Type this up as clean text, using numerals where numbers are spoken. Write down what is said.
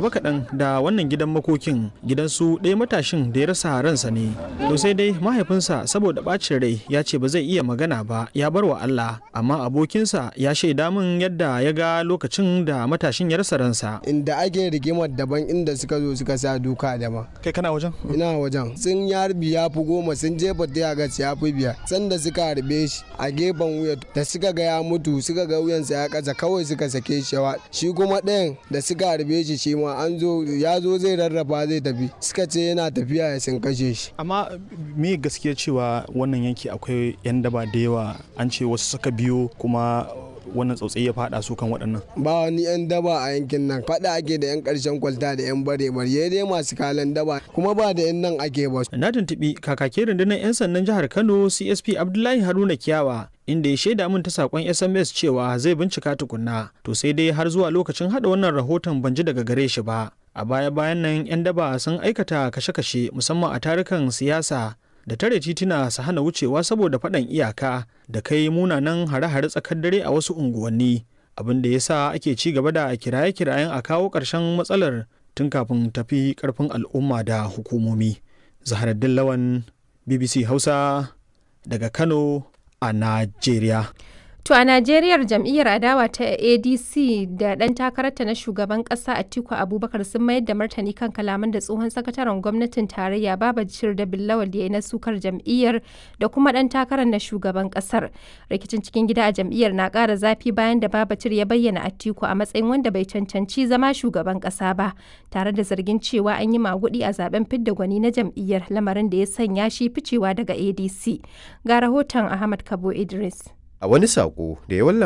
Gaba kaɗan da wannan gidan makokin, gidan su ɗaya matashin da ya rasa ransa ne. To sai dai mahaifinsa, saboda ɓacin rai, ya ce ba zai iya magana ba, ya bar wa Allah. Amma abokinsa ya shaida min yadda ya ga lokacin da matashin ya rasa ransa. Inda ake rigimar daban, inda suka zo suka sa duka daban. Kai kana wajen? Ina wajen. Sun yi harbi ya fi 10, sun jefa tiyagas ya fi 5. Sanda suka harbe shi a gefen wuya, da suka ga ya mutu, suka ga wuyansa ya kasa, kawai suka sake shi. Shi kuma ɗayan da suka harbe shi, shi ma an zo, ya zo zai rarrafa zai tafi, suka ce yana tafiya ya sun kashe shi. Amma me gaskiya cewa wannan yanki akwai 'yan daba da yawa? An ce wasu suka biyo kuma wannan tsautsayi ya fada su kan waɗannan. Ba wani 'yan daba a yankin nan. Faɗa ake da 'yan ƙarshen kwalta da 'yan bare bare dai masu kalan daba, kuma ba da 'yan nan ake ba. Na tuntuɓi kakakin rundunar 'yan sandan jihar Kano, CSP Abdullahi Haruna Kiyawa, inda ya shaida min ta sakon SMS cewa zai bincika tukunna. To sai dai har zuwa lokacin hada wannan rahoton ban ji daga gare shi ba. A baya bayan nan 'yan daba sun aikata kashe-kashe, musamman a tarukan siyasa, da tare tituna su hana wucewa saboda faɗan iyaka, da kai munanan hare-hare tsakar dare a wasu unguwanni, abin da ya sa ake ci gaba da kiraye-kirayen a kawo ƙarshen matsalar tun kafin tafi ƙarfin al'umma da hukumomi. Zaharaddin Lawan, BBC Hausa, daga Kano a Najeriya. To a Najeriyar, jam'iyyar adawa ta ADC da ɗan takararta na shugaban ƙasa Atiku Abubakar sun mayar da martani kan kalaman da tsohon sakataren gwamnatin tarayya Babajir da Billawal ya yi na sukar jam'iyyar da kuma ɗan takarar na shugaban ƙasar. Rikicin cikin gida a jam'iyyar na ƙara zafi bayan da Babacir ya bayyana Atiku a matsayin wanda bai cancanci zama shugaban ƙasa ba, tare da zargin cewa an yi maguɗi a zaben fidda gwani na jam'iyyar, lamarin da ya sanya shi ficewa daga ADC. Ga rahoton Ahmad Kabo Idris. A wani saƙo da ya wallafa